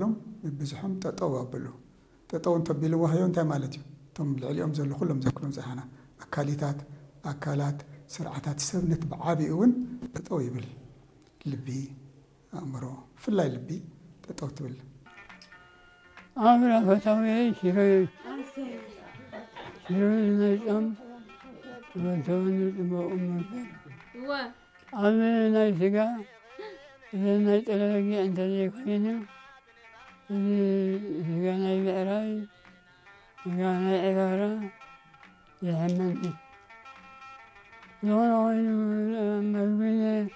ሎም ብብዝሖም ጠጠው ኣብሉ። ጠጠው እንተቢልዎ ሃዮ እንታይ ማለት እዩ? እቶም ልዕሊኦም ዘሎ ኩሎም ዘክሮም ጸሓና ኣካሊታት፣ ኣካላት፣ ስርዓታት ሰብነት ብዓቢኡ እውን ጠጠው ይብል። ልቢ፣ ኣእምሮ፣ ብፍላይ ልቢ ጠጠው ትብል። ኣብራ ፈታውየይ ሽሮይ፣ ሽሮይ ናይ ጾም፣ ተበልተወኒ ጽቡቕ እምበር። እወ። ኣብ ናይ ስጋ፣ እዚ ናይ ጥረ በጊዕ እንተዘይኮይኑ፣ እዚ ስጋ ናይ ብዕራይ፣ ስጋ ናይ ዕጋራ የሕመኒ። ዝኾነ ኮይኑ፣ መግቢ ን-፣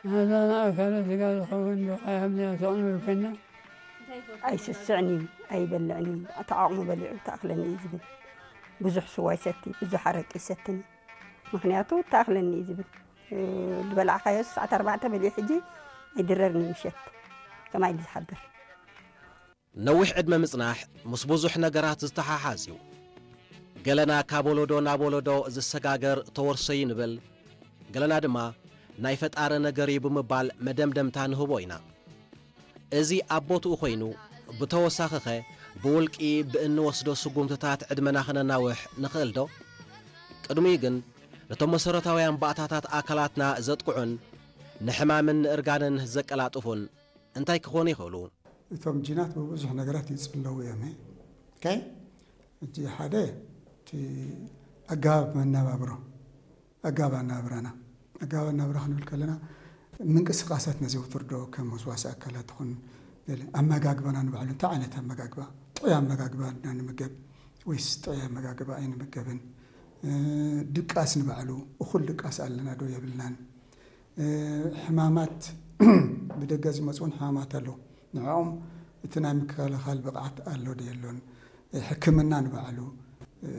ናዛ ንኣካለ ስጋ ዝኸውን ዶ ካያ ምንያ ተቕንብል ኮይና? ኣይስስዕን እዩ፣ ኣይበልዕን እዩ። እቲ ዓቕሙ በሊዑ ተኣኽለኒ እዩ ዝብል። ብዙሕ ስዋ ይሰቲ፣ ብዙሕ ኣረቂ ይሰትኒ። ምኽንያቱ ተኣኽለኒ እዩ ዝብል። እ፣ ዝበላዕካዮ ሰዓት ኣርባዕተ በሊዑ ሕጂ ኣይድረርን እዩ ምሸት። ከማይ ኢሉ ዝሓድር። ነዊሕ ዕድመ ምጽናሕ ምስ ብዙሕ ነገራት ዝተሓሓዝ እዩ። ገለና ካብ ወለዶ ናብ ወለዶ ዝሰጋገር ተወርሶ እዩ ንብል፣ ገለና ድማ ናይ ፈጣሪ ነገር እዩ ብምባል መደምደምታ ንህቦ ኢና። እዚ ኣብ ቦትኡ ኮይኑ፣ ብተወሳኺኸ ብውልቂ ብእንወስዶ ስጉምትታት ዕድመና ክነናውሕ ንኽእል ዶ? ቅድሚኡ ግን፣ ነቶም መሰረታውያን ባእታታት ኣካላትና ዘጥቅዑን ንሕማምን ንእርጋንን ዘቀላጥፉን እንታይ ክኾኑ ይኽእሉ? እቶም ጂናት ብብዙሕ ነገራት ይጽለዉ እዮም። ኦኬ? እቲ ሓደ፣ እቲ ኣገባብ መነባብሮ፣ ኣገባብ ኣነባብራና። ኣገባብ ኣነባብራ ክንብል ከለና፣ ምንቅስቃሳት ነዘውትር ዶ፣ ከም ወስዋሲ ኣካላት ይኹን፣ ገለ ኣመጋግባና ንባዕሉ፣ እንታይ ዓይነት ኣመጋግባ፣ ጥዑይ ኣመጋግባ ኢና ንምገብ ወይስ ጥዑይ ኣመጋግባ ኣይንምገብን? እ፣ ድቃስ ንባዕሉ፣ እኹል ድቃስ ኣለና ዶ የብልናን? እ፣ ሕማማት፣ ብደገ ዝመጹ እውን ሕማማት ኣለዉ። ንዕኦም እቲ ናይ ምክልኻል ብቕዓት ኣሎ ዶ የሎን? ሕክምና ንባዕሉ፣ እ፣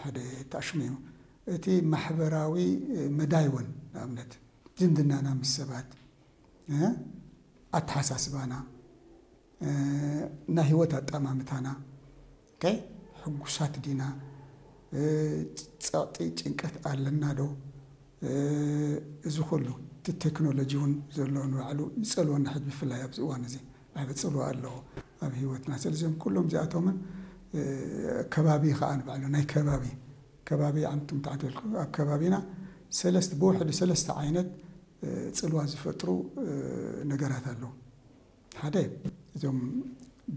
ሓደ ተኣሽሙ እዩ። እቲ ማሕበራዊ፣ እ፣ መዳይ እውን፣ ንኣብነት፣ ዝምድናና ምስ ሰባት፣ እ፣ ኣተሓሳስባና፣ እ፣ ናይ ህይወት ኣጠማምታና፣ ኦኬ፣ ሕጉሳት ዲና፣ እ፣ ጸቕጢ፣ ጭንቀት ኣለና ዶ? እ፣ እዚ ኩሉ፣ እቲ ቴክኖሎጂ እውን ዘሎ ንባዕሉ ይጸልወና። ሕጂ ብፍላይ ኣብዚ እዋን እዚ ዓቢ ጽልዋ ኣለዎ ኣብ ህይወትና። ስለዚኦም ኩሎም እዚኣቶምን፣ እ፣ ከባቢ ከኣ ንባዕሉ ናይ ከባቢ፣ ከባቢ ኣንቱም ተዓደልኩ፣ ኣብ ከባቢና ሰለስተ፣ ብውሕዱ ሰለስተ ዓይነት፣ እ፣ ጽልዋ ዝፈጥሩ፣ እ፣ ነገራት ኣለዉ። ሓደ፣ እዞም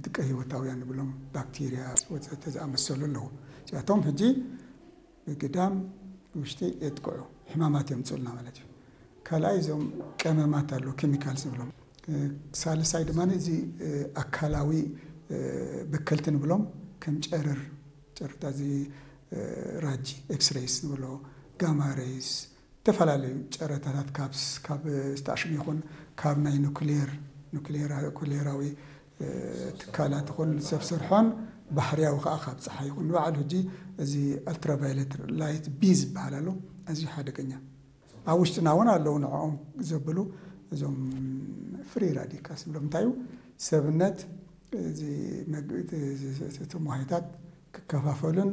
ድቀ ህይወታውያን ንብሎም፣ ባክቴርያ ወዘተ ዝኣመሰሉ ኣለዉ። እዚኣቶም ሕጂ ብግዳም ውሽጢ የጥቅዑ፣ ሕማማት የምጽኡልና ማለት እዩ። ካልኣይ፣ እዞም ቀመማት ኣለዉ፣ ኬሚካልስ ንብሎም። እ፣ ሳልሳይ ድማ እዚ፣ እ፣ ኣካላዊ፣ እ፣ በከልቲ ንብሎም፣ ከም ጨረር፣ ጨረርታ እዚ፣ እ፣ ራጂ፣ ኤክስሬይስ ንብሎ፣ ጋማ ሬይስ፣ ዝተፈላለዩ ጨረታታት ካብ ስ-፣ ካብ ዝተኣሽሙ ይኹን ካብ ናይ ኑክሌር፣ ኑክሌራ-፣ ኑክሌራዊ፣ እ፣ ትካላት ይኹን ሰብ ሰርሖን ባህርያዊ ከኣ ካብ ጸሓይ ይኹን። ንባዕሉ ሕጂ እዚ ኣልትራቫዮሌት ላይት ቢ ዝበሃል ኣሎ፣ ኣዝዩ ሓደገኛ። ኣብ ውሽጥና እውን ኣለዉ ንዕኦም ዘብሉ እዞም ፍሪ ራዲካልስ ንብሎም። እንታይ እዩ? ሰብነት እዚ መግ-፣ እቲ፣ እዚ፣ እቲ፣ እቶም ዋህዮታት ክከፋፈሉን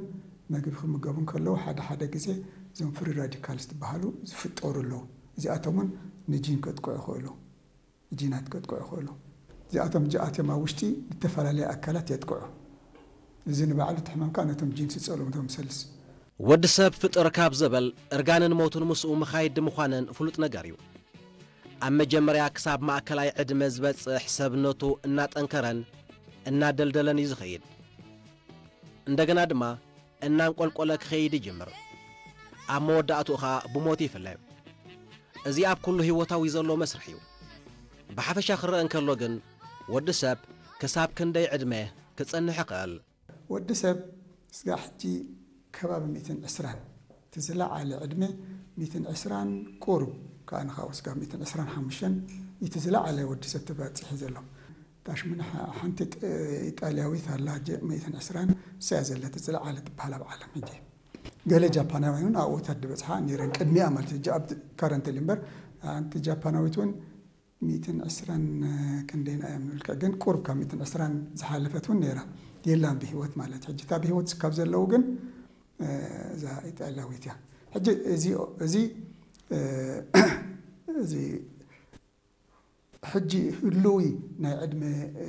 መግቢ ክምገቡን ከለዉ ሓደ ሓደ ግዜ እዞም ፍሪ ራዲካልስ ዝበሃሉ ዝፍጠሩ ኣለዉ። እዚኣቶም እውን ንጂን ከጥቅዑ ይኽእሉ፣ ጂናት ከጥቅዑ ይኽእሉ። እዚኣቶም እዚኣቶም ኣብ ውሽጢ ዝተፈላለየ ኣካላት የጥቅዑ። እዚ ንባዕሉ እቲ ሕማም ከዓ ነቶም ጂንስ ይጸልዎም፣ እቶም ሰልስ። ወዲ ሰብ ፍጥር ካብ ዘበል እርጋንን ሞትን ምስኡ ምኻይድ ምዃነን ፍሉጥ ነገር እዩ። ኣብ መጀመርያ ክሳብ ማእከላይ ዕድመ ዝበጽሕ ሰብነቱ እናጠንከረን እናደልደለን እዩ ዝኸይድ። እንደገና ድማ እናንቆልቆለ ክኸይድ ይጅምር። ኣብ መወዳእትኡ ኸኣ ብሞት ይፍለ። እዚ ኣብ ኩሉ ህይወታዊ ዘሎ መስርሕ እዩ። ብሓፈሻ ክረአ እንከሎ ግን፣ ወዲ ሰብ ክሳብ ክንደይ ዕድመ ክጸንሕ ይኽእል? ወዲ ሰብ ስጋዕ ሕጂ ከባቢ ሚእትን ዕስራን፣ እቲ ዝለዓለ ዕድመ ሚእትን ዕስራን ቁሩብ፣ ከኣ ንኻብኡ ስጋብ ሚእትን ዕስራን ሓሙሽተን እቲ ዝለዓለ ወዲ ሰብ ተባጺሑ ዘሎ። ታሽሚ ንሓ-፣ ሓንቲ ጥ-፣ ኢጣልያዊት ኣላ፣ ጀ-፣ ሚእትን ዕስራን እሳ እያ ዘለቲ ዝለዓለ ትበሃል ኣብ ዓለም ሕጂ። ገለ ጃፓናውያን እውን ኣብኡ እታ ዝበጽሓ ነይረን ቅድሚኣ ማለት እዩ። ሕጂ ኣብ ካረንትሊ እምበር፣ ሓንቲ ጃፓናዊት እውን ሚእትን ዕስራን ክንደይና እያ ምንብልካ፣ ግን ቁሩብ ካብ ሚእትን ዕስራን ዝሓለፈት እውን ነይራ የላን ብህይወት ማለት። ሕጂ እታ ብህይወት ካብ ዘለዉ ግን፣ እ፣ እዛ ኢጣልያዊት እያ። ሕጂ እዚ፣ እዚ፣ እ፣ እዚ ሕጂ ህልዊ ናይ ዕድመ፣ እ፣